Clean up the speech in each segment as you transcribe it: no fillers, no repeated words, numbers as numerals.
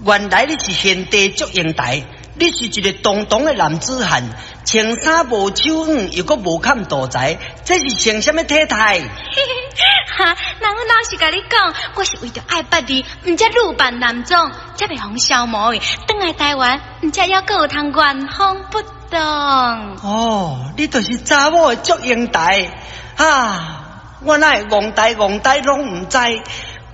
原來你是賢弟祝英台，你是一個堂堂的男子漢，穿衫無手腕，又閣無崁肚財，這是穿啥物體態？哈，那阮老實共你講，我是為著愛捌你，毋才女扮男裝，才袂予消磨去。轉來台灣，毋才猶閣有通原封不動。哦，你就是查某的祝英台啊！我哪會戇呆戇呆攏毋知，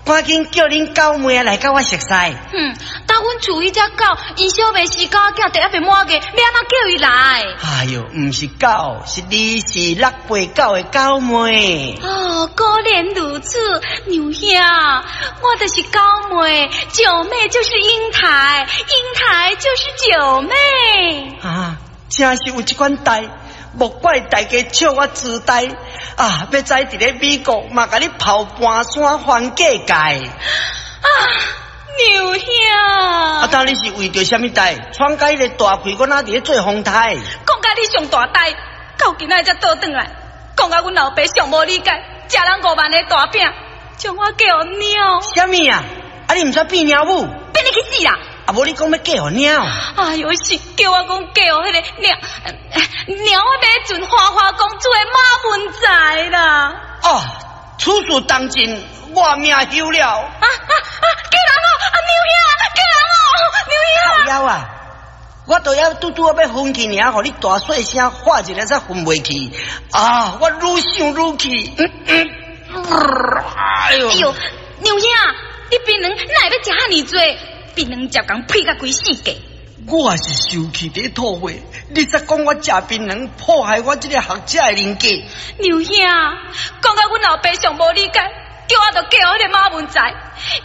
趕緊叫恁狗妹來佮我熟似。哼，到阮厝彼隻狗，𪜶小妹是狗仔，第猶未滿月，欲按怎叫伊來？哎喲，毋是狗，是二四六八九的九妹。哦，果然如此，娘兄，我就是九妹，九妹就是英台，英台就是九妹。啊，真是有這款代，莫怪大家笑我痴呆啊！欲知佇咧美國嘛，共你跑盤山環世界。啊，娘兄！啊，到底是為著啥物代？闖甲彼个大氣，我哪佇咧做風台？講甲你上大代，到今仔才倒轉來，講甲阮老爸上無理解，食人5萬的大餅，將我嫁予貓。啥物啊？啊，你毋煞變貓母？變你去死啦！啊，無你講欲嫁予貓？哎喲，是叫我講嫁予彼个貓貓仔馬船花花公子的馬文才啦！哦，此事當真，我命休了。啊啊啊！救人哦！啊，娘兄，救人哦！娘兄！靠腰啊！我都猶拄拄仔欲昏去爾，予你大細聲喊一下才昏袂去。啊！我愈想愈氣。哎喲！哎喲，娘兄，你檳榔哪會欲食遮爾濟？檳榔食共屁甲規世界。我也是受氣佇吐話，你煞講我食檳榔破壞我這个學者的人格。娘兄，講甲阮老爸上無理解，叫我著嫁予彼个馬文才，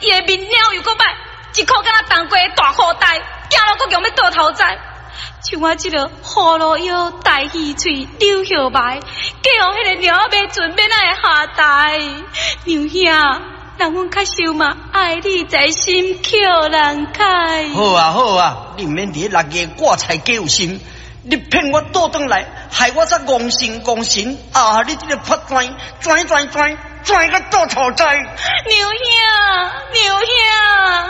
伊的面鳥又閣歹，一箍敢若冬瓜的大褲袋，行路閣強欲倒頭栽。像我這个葫蘆腰、大魚喙、柳葉眉，嫁予彼个貓仔馬船，欲按怎會下台？娘兄，人阮較受嘛，愛你在心，扣人開。好啊好啊，你毋免佇咧六月掛菜假有心，你騙我倒轉來，害我煞戇神戇神啊！你這个破轉轉轉轉轉個倒頭栽。娘兄，娘兄。